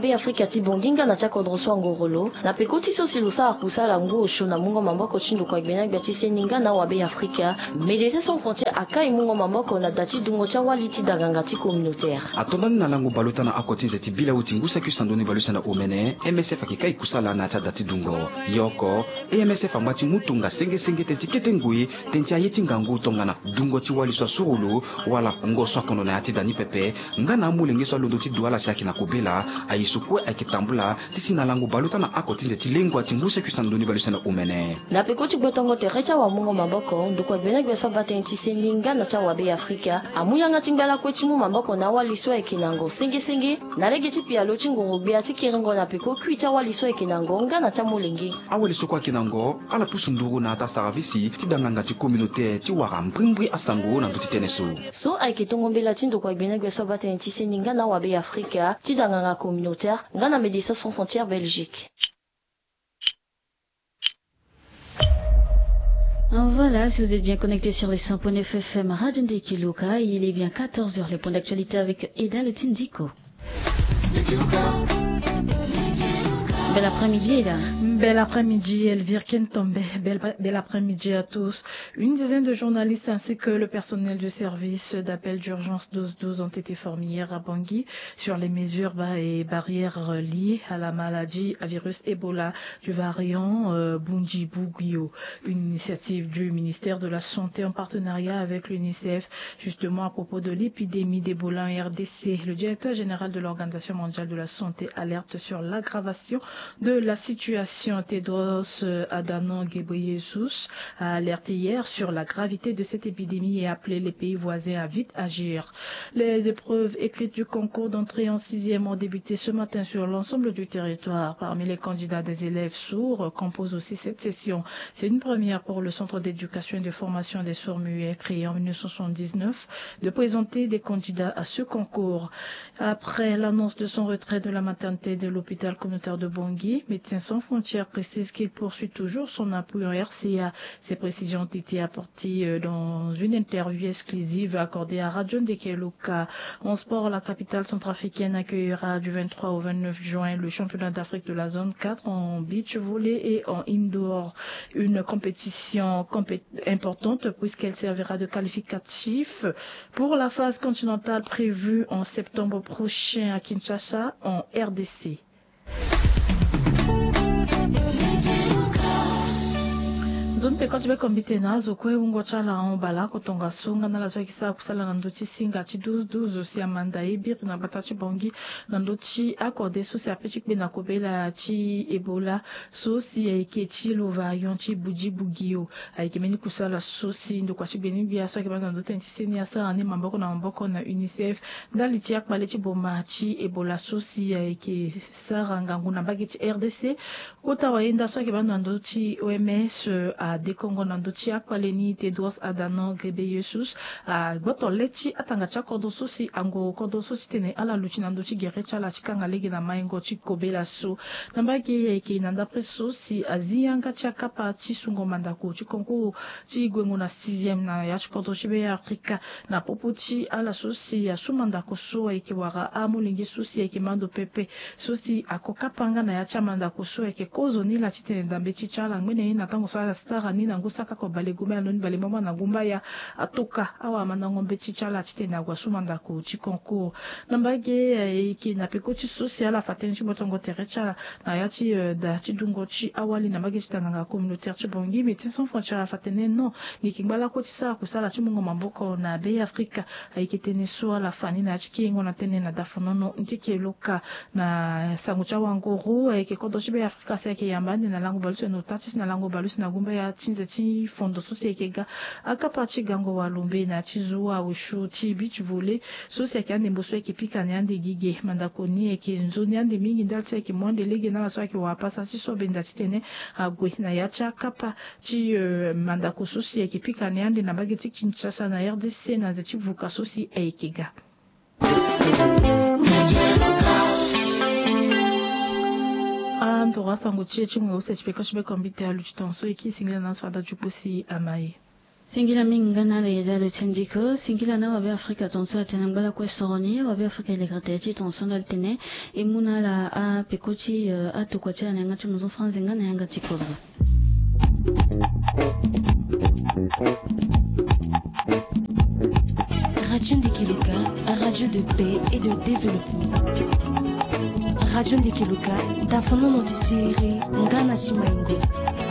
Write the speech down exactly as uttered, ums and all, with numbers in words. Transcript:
Be Afrika ti Bongi nga na ti akodro so angorolo na peko ti so si lo sara kusala ngu osio na mungo maboko ti ndokua gbena gbia ti seni nga na awabe Afrika. Médecins Sans Frontières akai mungo maboko na da ti dungo ti awali ti daganga ti communautaire. Atonda ni na lango baleota na oko ti nze ti bileau ti ngu saki sandoni baleuse na omene, M S F ayeke kai kusala na ya ti ada ti dungo. Ye oko, M S F angba ti mu tonga senge senge tënë ti kete ngoi tënë ti aye ti ngangu tongana dungo ti wali so asurulu wala ngo so akondo na ya ti da ni pepe, nga na amolenge so alondo ti du ala si ayeke na kobela. Aye so kue ayeke tambula ti si na lango baleota na oko ti nze ti lengua ti ngu saki sandoni baleuse na omene. Na peko ti gbotongo tere ti awamungo maboko, ndokua gbena gbia so abaa tënë ti seni nga na ti awabe Afrika amu yanga ti ngba lakue ti mu maboko na awali so ayeke na ngo senge senge na lege ti pialo ti nguru-gbia ti kiringo na peko kui ti awali so ayeke na ngo nga na ti amolenge. Awali so kue ayeke na ngo ala pusu nduru na ata saravisi ti danganga ti communautaire ti wara mbrimbri asango na ndö ti tënë so. So ayeke tongo mbela ti ndokua gbena gbia so abaa tënë ti seni nga na awabe Afrika ti danganga communautaire nga na Médecins Sans Frontières Belgique. Voilà, si vous êtes bien connecté sur les cent point neuf F M Radio Ndeke Luka, il est bien quatorze heures, les points d'actualité avec Eda Lotindiko. Bel après-midi, Eda. Bel après-midi, Elvire Kentombe. Bel, bel après-midi à tous. Une dizaine de journalistes ainsi que le personnel du service d'appel d'urgence douze douze ont été formés hier à Bangui sur les mesures ba-, et barrières liées à la maladie à virus Ebola du variant, euh, Bundibugyo. Une initiative du ministère de la Santé en partenariat avec l'UNICEF, justement à propos de l'épidémie d'Ebola en R D C. Le directeur général de l'Organisation mondiale de la santé alerte sur l'aggravation de la situation. Tedros, euh, Adhanom Ghebreyesus a alerté hier sur la gravité de cette épidémie et appelé les pays voisins à vite agir. Les épreuves écrites du concours d'entrée en sixième ont débuté ce matin sur l'ensemble du territoire. Parmi les candidats, des élèves sourds composent aussi cette session. C'est une première pour le Centre d'éducation et de formation des sourds-muets, créé en mille neuf cent soixante-dix-neuf, de présenter des candidats à ce concours. Après l'annonce de son retrait de la maternité de l'hôpital communautaire de Bangui, Médecins sans frontières précise qu'il poursuit toujours son appui en R C A. Ces précisions ont été apportées, euh, dans une interview exclusive accordée à Radio Ndeke Luka. En sport, la capitale centrafricaine accueillera du vingt-trois au vingt-neuf juin le championnat d'Afrique de la zone quatre en beach volley et en indoor. Une compétition compé-, importante puisqu'elle servira de qualificatif pour la phase continentale prévue en septembre prochain à Kinshasa, en R D C. Nzoni te koti be kombite na azo kue wungo ti ala ahon baleoko tongaso nga na ala so ayeke sara kusala na ndö ti singa ti douze douze si amanda ye biri na gbata ti Bangui na ndö ti akode so si ape ti kpe na kobela ti Ebola so si ayeke ti lo variant ti Bundibugyo. Ayeke mbeni kusala so si ndokua ti gbeni-gbia so ayeke baa na ndö ti tënë ti seni asara ni maboko na maboko na UNICEF ndali ti akpale ti boma ti Ebola so si ayeke sara ngangu na mbage ti R D C. Kota wayenda so ayeke baa na ndö ti O M S, euh, adekongo na ndö ti akpale ni Tedros Adhanom Ghebreyesus agboto le ti atanga ti akodro so si angoro kodro so ti tene ala luti na ndö ti gere ti ala ti kanga lege na maingo ti kobela so. Na mbage ayeke na ndapre so si azi yanga ti akapa ti sungo mandako ti concours ti gwengo na sixième na ya ti kodro ti Be Afrika na popo ti ala so si asu mandako so ayeke wara amolenge so si ayeke mando pepe so si ako kapa nga na ya ti amandako so ayeke kozoni laa titene dambe ti ti ala ngbene ye na tango so asara ni na ngu saka oko bale gumbaya na loni bale mboma na gumbaya atoka awamandango mbeti ti ala titene ague asu mandako ti concours. Na mbage, eh, ayeke na peko ti so si ala fa tënë ti gbotongo tere ti ala na ya ti, eh, da ti dungo ti awali na mbage ti danganga communautaire ti Bangui, Médecins sans frontières afa tënë non. Ngi yeke ngba lakue ti sara kusala ti mungo maboko na Be Afrika. Ayeke tënë so ala fa ni na ya ti kiringo na tënë na dafonono Ndeke Luka. Na sango ti awanguru, ayeke kodro ti Be Afrika si ayeke yamba ande na lango baleuse na ota ti si na lango baleuse na gumbaya ti nze ti fondo so si ayeke ga akapa ti gango walumbe na ya ti zo aosio ti beach volley so si ayeke andembo so ayeke pika na ya ande gigi. Mandako ni ayeke nzoni ande mingi ndali ti ayeke mu ande lege na ala so ayeke wara pasa ti so benda titene ague na ya ti akapa ti, euh, mandako so si ayeke pika na ya ande na mbage ti Kinshasa na R D C na nze ti vuka so si ayeke ga. Andoro asango ti e ti mu na use ti peko ti be kombite aluti tongaso e kiri singila na aso ada ti opo si ama e. Singila mingi nga na ala ya dalo ti ndiko. Singila na wabe Afrika tonso atene ngbalakue soroni wabe Afrika elekere tere ti tonso ndali tene e mu na ala apeko ti atokua ti ala na yanga ti mozo franzi nga na yanga ti kodro. Radio Ndekeloka, radio de paix et de développement. Radio Ndekeloka, tafonono ti siriri nga na simaingo.